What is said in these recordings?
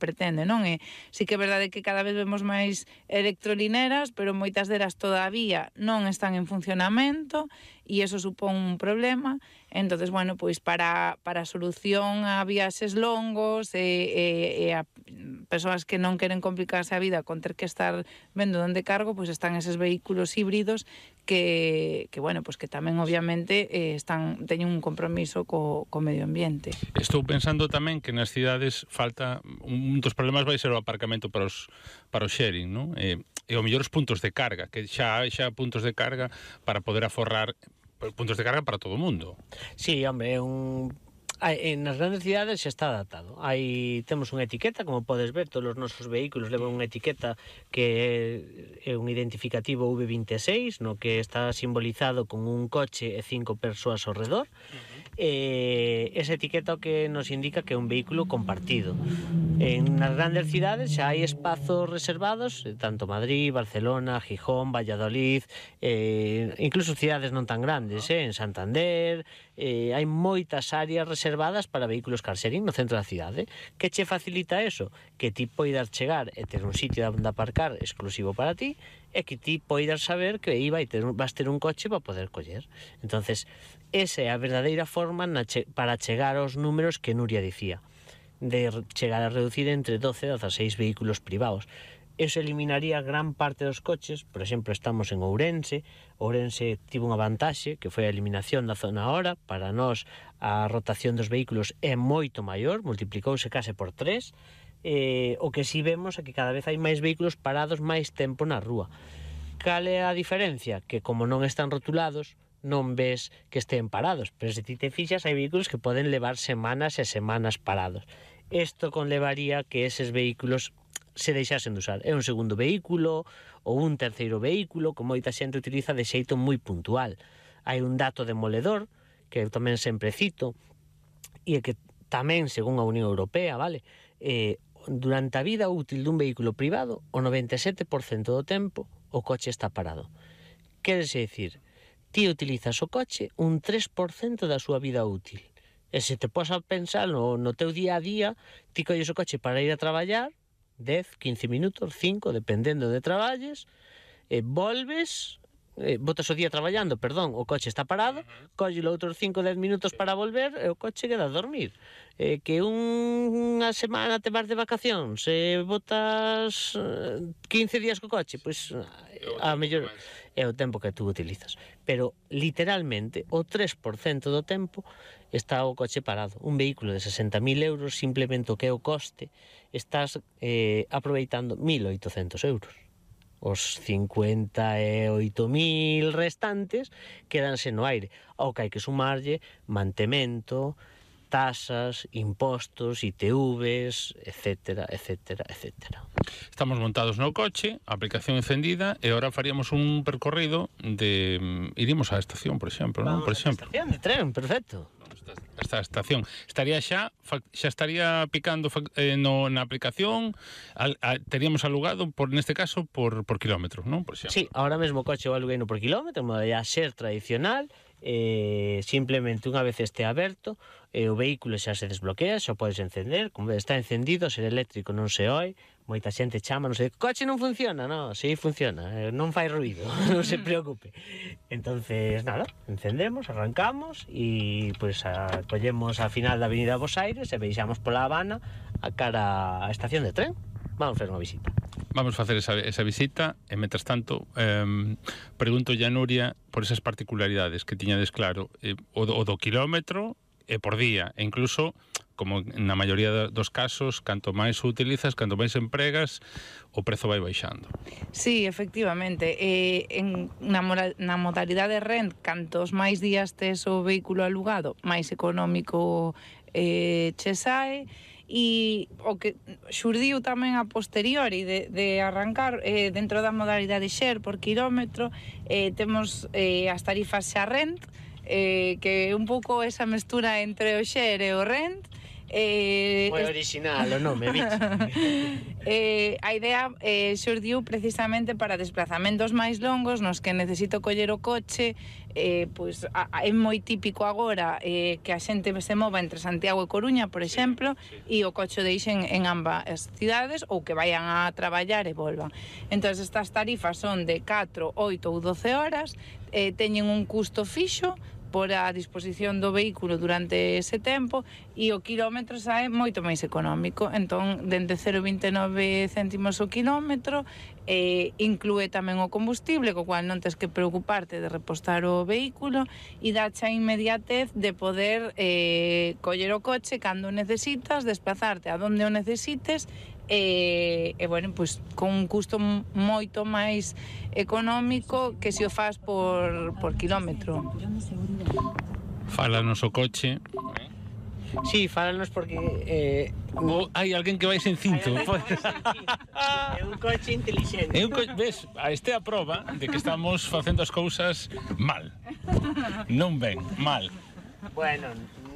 pretende, non? E sí que é verdade que cada vez vemos máis electrolineras, pero moitas delas todavía non están en funcionamento e eso supón un problema. Entonces, bueno, pois para a solución a viaxes longos e a persoas que non queren complicarse a vida con ter que estar vendo onde cargo, pois están eses vehículos híbridos que bueno, pois que tamén obviamente teñen un compromiso co medio ambiente. Estou pensando tamén que nas cidades falta un dos problemas vai ser o aparcamento para o sharing, non? E ao mellor os puntos de carga, que xa puntos de carga para poder aforrar puntos de carga para todo o mundo. Sí, hombre, nas grandes cidades xa está adaptado. Temos unha etiqueta, como podes ver, todos os nosos vehículos levan unha etiqueta que é un identificativo V26, no que está simbolizado con un coche e 5 persoas ao redor. Esa etiqueta o que nos indica que é un vehículo compartido. Nas grandes cidades xa hai espazos reservados, tanto Madrid, Barcelona, Gijón, Valladolid, incluso cidades non tan grandes, en Santander, hai moitas áreas reservadas para vehículos car sharing no centro da cidade. Que che facilita eso? Que ti poidas chegar e ter un sitio onde aparcar exclusivo para ti, e que ti poidas saber que aí vas ter un coche para poder coller. Entonces, esa é a verdadeira forma para chegar aos números que Nuria dicía, de chegar a reducir entre 12 e 16 vehículos privados. Eso eliminaría gran parte dos coches. Por exemplo, estamos en Ourense tivo unha vantaxe, que foi a eliminación da zona hora. Para nós a rotación dos vehículos é moito maior, multiplicouse case por 3. O que si vemos é que cada vez hai máis vehículos parados máis tempo na rúa. Cal é a diferencia? Que como non están rotulados, non ves que estén parados, pero se ti te fixas hai vehículos que poden levar semanas e semanas parados. Isto conlevaría que eses vehículos se deixasen de usar. É un segundo vehículo ou un terceiro vehículo que moita xente utiliza de xeito moi puntual. Hai un dato demoledor que eu tamén sempre cito, e que tamén, según a Unión Europea, vale, durante a vida útil dun vehículo privado, o 97% do tempo o coche está parado. Quere dicir, ti utilizas o coche un 3% da súa vida útil. E se te pos a pensar no teu día a día, ti colles o coche para ir a traballar 10, 15 minutos, 5, dependendo de traballes, volves, botas o día traballando, o coche está parado, colles outros 5, 10 minutos para volver e o coche queda a dormir. Que unha semana te vas de vacacións e botas 15 días co coche, pois a mellor é o tempo que tú utilizas. Pero, literalmente, o 3% do tempo está o coche parado. Un vehículo de 60.000 euros, simplemente o que é o coste, estás aproveitando 1.800 euros. Os 58.000 restantes quedanse no aire, ao que hai que sumarlle mantemento, tasas, impostos, ITVs, etcétera, etcétera, etcétera. Estamos montados no coche, a aplicación encendida, e agora faríamos un percorrido de... iríamos á estación, por exemplo, non? Por exemplo. Estación de tren, perfecto. Esta estación estaría xa estaría picando na aplicación, teríamos alugado, neste caso, por kilómetros, non? Por exemplo. Sí, ahora mesmo o coche o alugueino por kilómetro, modalidade ser tradicional. Simplemente unha vez este aberto, o vehículo xa se desbloquea, xa podes encender, como está encendido, ser eléctrico non se oi, moita xente chama, non sei, o coche non funciona, non, si funciona, non fai ruido, non se preocupe. Entonces, nada, encendemos, arrancamos e pois collemos a final da Avenida Bos Aires e baixamos pola Habana a cara á estación de tren. Vamos facer unha visita. Vamos facer esa visita e, mentras tanto, pregunto a Nuria por esas particularidades que tiñades claro, o do kilómetro e por día, e incluso, como na maioría dos casos, canto máis o utilizas, canto máis empregas, o prezo vai baixando. Sí, efectivamente. Na modalidade rent, cantos máis días tes o vehículo alugado, máis económico che sae. E o que xurdiu tamén a posteriori de arrancar dentro da modalidade share por kilómetro, temos as tarifas xa rent, que é un pouco esa mestura entre o share e o rent, Moi original o nome, bicho. A idea xurdiu precisamente para desplazamentos máis longos nos que necesito coller o coche. Pois é moi típico agora que a xente se mova entre Santiago e Coruña, por exemplo, e o coche deixen en ambas cidades ou que vayan a traballar e volvan. Entón, estas tarifas son de 4, 8 ou 12 horas, teñen un custo fixo por a disposición do vehículo durante ese tempo e o quilómetro sae moito máis económico. Entón, dende 0,29 céntimos o quilómetro, inclúe tamén o combustible, co cual non tens que preocuparte de repostar o vehículo e dache a inmediatez de poder coller o coche cando o necesitas, desplazarte a donde o necesites e bueno, pois con un custo moito máis económico que se o faz por quilómetro. Fálanos o coche. Sí, fálanos porque hai alguén que vai sen cinto. É un coche inteligente. Ves, este é a prova de que estamos facendo as cousas mal. Non ben, mal. Bueno,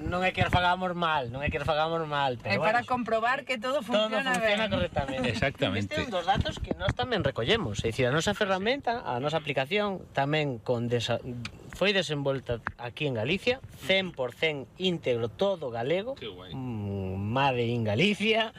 non é que as fagamos mal, pero É para comprobar que todo funciona ben. Correctamente. Exactamente. Este é un dos datos que nós tamén recollemos, é dicir, a nosa ferramenta, a nosa aplicación tamén foi desenvolta aquí en Galicia, 100% íntegro, todo galego, made in Galicia.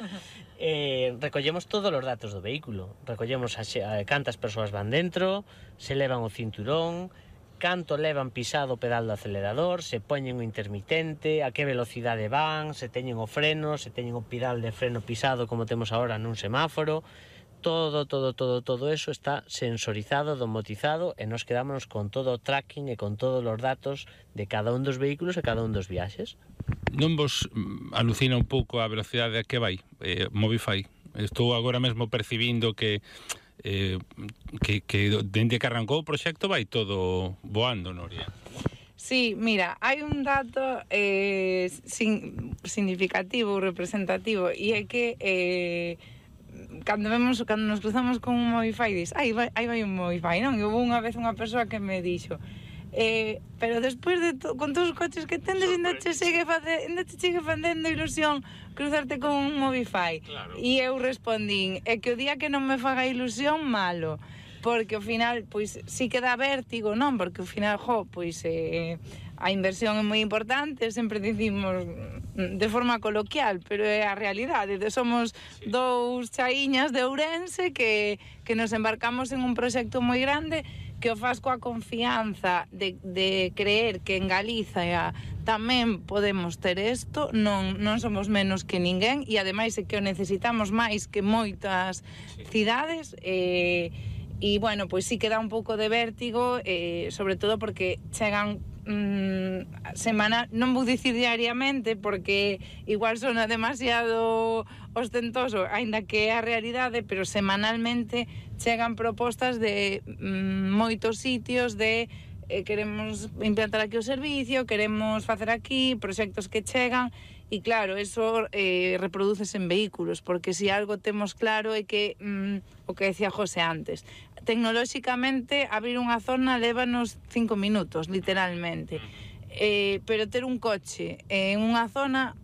Recollemos todos os datos do vehículo, recollemos cantas persoas van dentro, se levan o cinturón, canto levan pisado o pedal do acelerador, se poñen o intermitente, a que velocidade van, se teñen o freno, se teñen o pedal de freno pisado como temos agora nun semáforo. Todo eso está sensorizado, domotizado, e nos quedamos con todo o tracking e con todos os datos de cada un dos vehículos e cada un dos viaxes. Non vos alucina un pouco a velocidade a que vai Movify? Estou agora mesmo percibindo que dende que arrancou o proxecto vai todo voando, Noria. Sí, mira, hai un dato significativo, representativo, e é que cando nos cruzamos con un Movify, dis, aí vai un Movify, non? E houve unha vez unha persoa que me dixo, pero despois de con todos os coches que tendes ainda te sigue facendo ilusión cruzarte con un Movify. Claro. E eu respondín, é que o día que non me faga ilusión, malo, porque ao final, pois, sí que dá vértigo, non? Porque ao final, pois, a inversión é moi importante, sempre dicimos de forma coloquial, pero é a realidade. Somos dous chaiñas de Ourense que nos embarcamos en un proxecto moi grande que o faz coa confianza de creer que en Galicia tamén podemos ter isto, non somos menos que ninguén, e ademais é que o necesitamos máis que moitas cidades, e bueno, pois sí que dá un pouco de vértigo, sobre todo porque chegan semanal, non vou dicir diariamente porque igual sona demasiado ostentoso, aínda que é a realidade, pero semanalmente chegan propostas de moitos sitios de queremos implantar aquí o servicio, queremos facer aquí, proxectos que chegan, e claro, eso reprodúcese en vehículos, porque se algo temos claro é que o que decía José antes, tecnolóxicamente abrir unha zona lévanos 5 minutos, literalmente, pero ter un coche en unha zona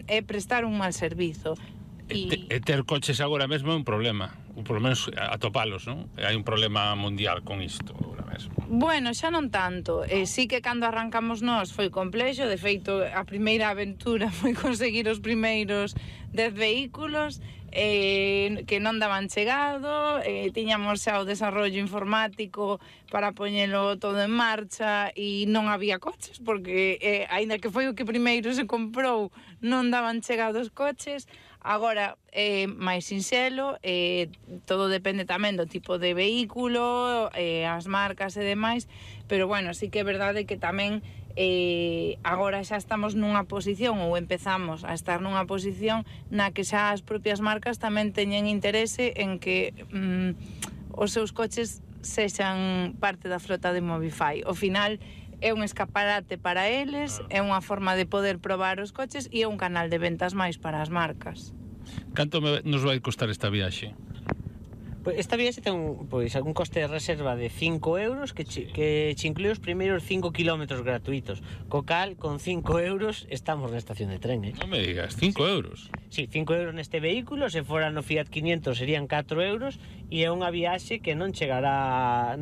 é prestar un mal servizo. E ter coches agora mesmo é un problema, por lo menos atopalos, non? Hai un problema mundial con isto agora mesmo. Bueno, xa non tanto, sí que cando arrancamos nós foi complexo, de feito a primeira aventura foi conseguir os primeiros 10 vehículos que non daban chegado, tiñamos xa o desarrollo informático para poñelo todo en marcha e non había coches, porque aínda que foi o que primeiro se comprou, non daban chegado os coches. Agora, máis sinxelo, todo depende tamén do tipo de vehículo, as marcas e demais, pero bueno, sí que é verdade que tamén agora xa estamos nunha posición ou empezamos a estar nunha posición na que xa as propias marcas tamén teñen interese en que os seus coches sexan parte da frota de Movify. Ao final é un escaparate para eles, é unha forma de poder probar os coches e é un canal de ventas máis para as marcas. Canto nos vai costar esta viaxe? Pois esta viaxe ten un coste de reserva de 5 euros que che inclúe os primeiros 5 kilómetros gratuitos. Co cal, con 5 euros estamos na estación de tren, Non me digas, 5 euros. Sí, 5 euros neste vehículo, se fora no Fiat 500 serían 4 euros e é unha viaxe que non chegará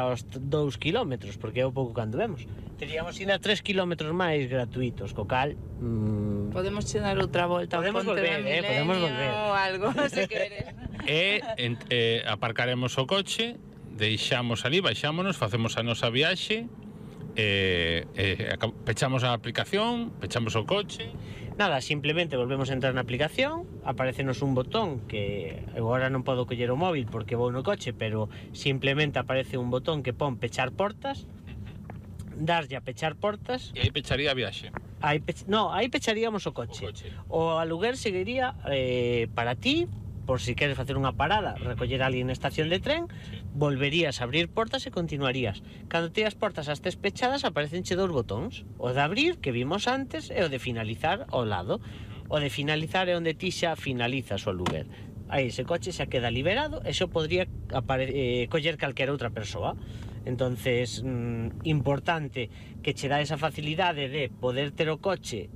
aos 2 kilómetros, porque é o pouco cando vemos. Teríamos ainda 3 kilómetros máis gratuitos, co cal... Podemos che dar outra volta ao Podemos Ponte volver, da Milenio podemos volver. ou algo, se queres. E aparcaremos o coche, deixamos ali, baixámonos, facemos a nosa viaxe, pechamos a aplicación, pechamos o coche. Nada, simplemente volvemos a entrar na aplicación, aparecenos un botón que agora non podo coller o móvil porque vou no coche, pero simplemente aparece un botón que pon pechar portas, darlle a pechar portas. E aí pecharía a viaxe. Aí pecharíamos o coche. O aluguer seguiría para ti, por si queres facer unha parada, recoller ali na estación de tren, volverías a abrir portas e continuarías. Cando ti as portas as tes pechadas, aparecenche 2 botóns. O de abrir, que vimos antes, e o de finalizar ao lado. O de finalizar é onde ti xa finalizas o aluguer. Aí ese coche xa queda liberado e xa podría coller calquera outra persoa. Entonces, importante que che dá esa facilidade de poder ter o coche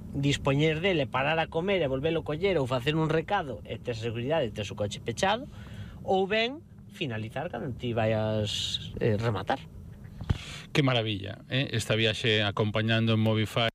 dispoñer dele, parar a comer e volvelo coller ou facer un recado e ter seguridade de ter o coche pechado, ou ben finalizar cando ti vayas rematar. Que maravilla, esta viaxe acompañando en Movify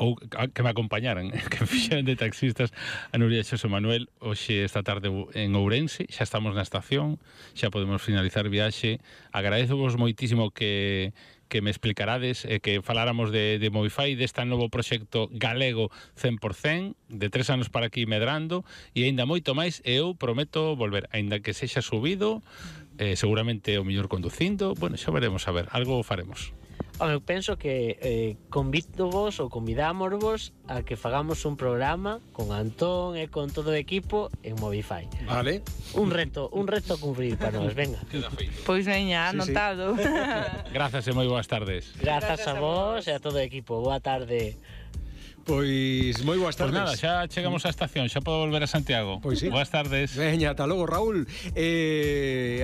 ou que me acompañaran, que me fixeron de taxistas a Nuria e Xosé Manuel hoxe esta tarde en Ourense. Xa estamos na estación, xa podemos finalizar viaxe. Agradezovos moitísimo que me explicarades, que faláramos de Movify, deste novo proxecto galego 100%, de 3 anos para aquí medrando, e aínda moito máis, e eu prometo volver, aínda que sexa subido, seguramente o mellor conducindo, bueno, xa veremos, a ver, algo faremos. Eu penso que convídovos ou convidámosvos a que fagamos un programa con Antón e con todo o equipo en Movify. Vale. Un reto a cumprir para nós, venga. Pois veña, anotado. Sí. Grazas e moi boas tardes. Grazas a vos e a todo o equipo. Boa tarde. Pois moi boas tardes. Pois nada, xa chegamos á estación, xa podo volver a Santiago. Pois sí. Boas tardes. Veña, ata logo, Raúl.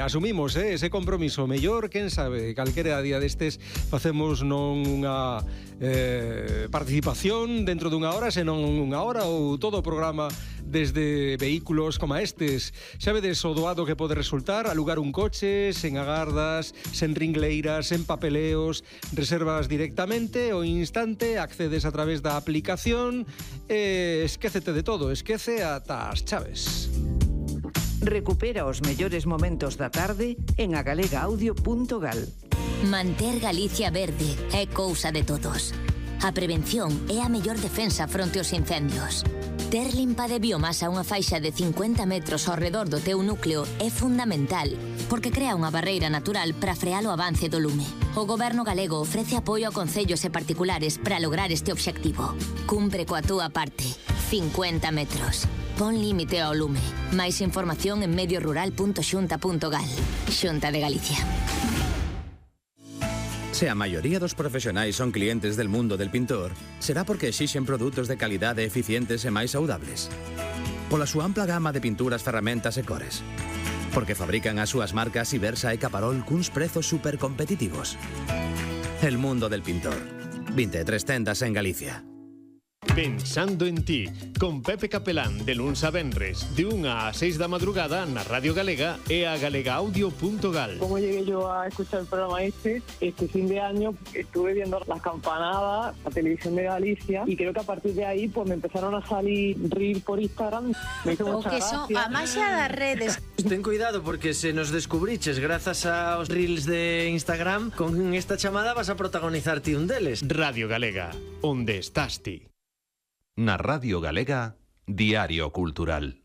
Asumimos ese compromiso. Mellor, quen sabe, calquera día destes facemos non unha participación dentro dunha hora, senón unha hora ou todo o programa desde vehículos como estes. Xa vedes o doado que pode resultar alugar un coche sen agardas, sen ringleiras, sen papeleos, reservas directamente ao instante, accedes a través da aplicación e esquécete de todo, esquece ata as chaves. Recupera os mellores momentos da tarde en agalegaudio.gal. Manter Galicia verde é cousa de todos. A prevención é a mellor defensa fronte aos incendios. Ter limpa de biomasa unha faixa de 50 metros ao redor do teu núcleo é fundamental, porque crea unha barreira natural para frear o avance do lume. O Goberno galego ofrece apoio a concellos e particulares para lograr este obxectivo. Cumpre coa túa parte. 50 metros. Pon límite ao lume. Máis información en mediorural.xunta.gal. Xunta de Galicia. Se a maioría dos profesionais son clientes del mundo del pintor, será porque exixen produtos de calidade eficientes e máis saudables. Pola súa ampla gama de pinturas, ferramentas e cores. Porque fabrican as súas marcas Ibersa e Caparol cuns prezos supercompetitivos. El mundo del pintor. 23 tendas en Galicia. Pensando en ti, con Pepe Capelán, de luns a venres, de 1 a 6 da madrugada na Radio Galega e a galegaudio.gal. Como llegué yo a escuchar el programa este fin de año estuve viendo las campanadas, la televisión de Galicia, y creo que a partir de ahí pues me empezaron a salir reels por Instagram. Me hizo mucha gracia. O que son a maxia das redes. Ten cuidado porque se nos descubriches grazas aos reels de Instagram, con esta chamada vas a protagonizar ti un deles. Radio Galega, onde estás ti? Na Radio Galega, Diario Cultural.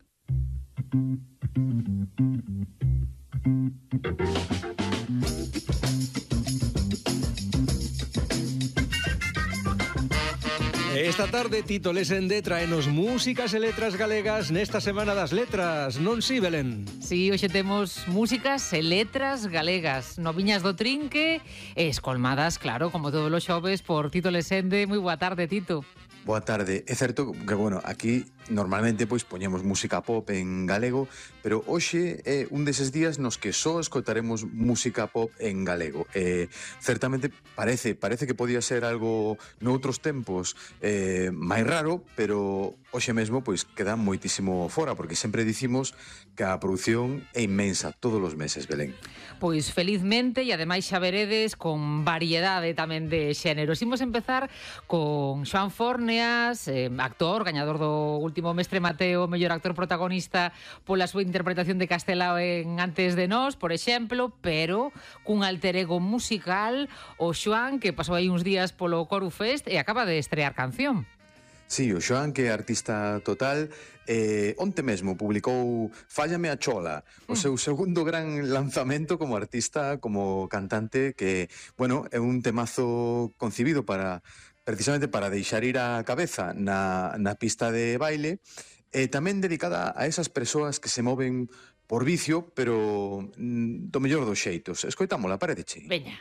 Esta tarde Tito Lesende traenos músicas e letras galegas nesta Semana das Letras, non si, Belén? Si, hoxe temos músicas e letras galegas, noviñas do trinque e escolmadas, claro, como todos os xoves, por Tito Lesende. Moi boa tarde, Tito. Boa tarde. É certo que, bueno, aquí normalmente pois poñemos música pop en galego, pero hoxe é un deses días nos que só escoitaremos música pop en galego. Certamente parece que podía ser algo noutros tempos máis raro, pero hoxe mesmo pois queda moitísimo fora, porque sempre dicimos que a produción é inmensa todos os meses, Belén. Pois felizmente, e ademais xa veredes con variedade tamén de xéneros. Imos empezar con Xoan Forneas, actor, gañador do último Mestre Mateo, mellor actor protagonista pola súa interpretación de Castelao en Antes de Nós, por exemplo, pero cun alter ego musical, o Xoan, que pasou aí uns días polo Coru Fest e acaba de estrear canción. Sí, o Xoan, que é artista total, onte mesmo publicou Fállame a Chola, o seu segundo gran lanzamento como artista, como cantante, que, bueno, é un temazo concibido precisamente para deixar ir a cabeza na pista de baile, e tamén dedicada a esas persoas que se moven por vicio, pero do mellor dos xeitos. Escoitámola, paréceche? Veña.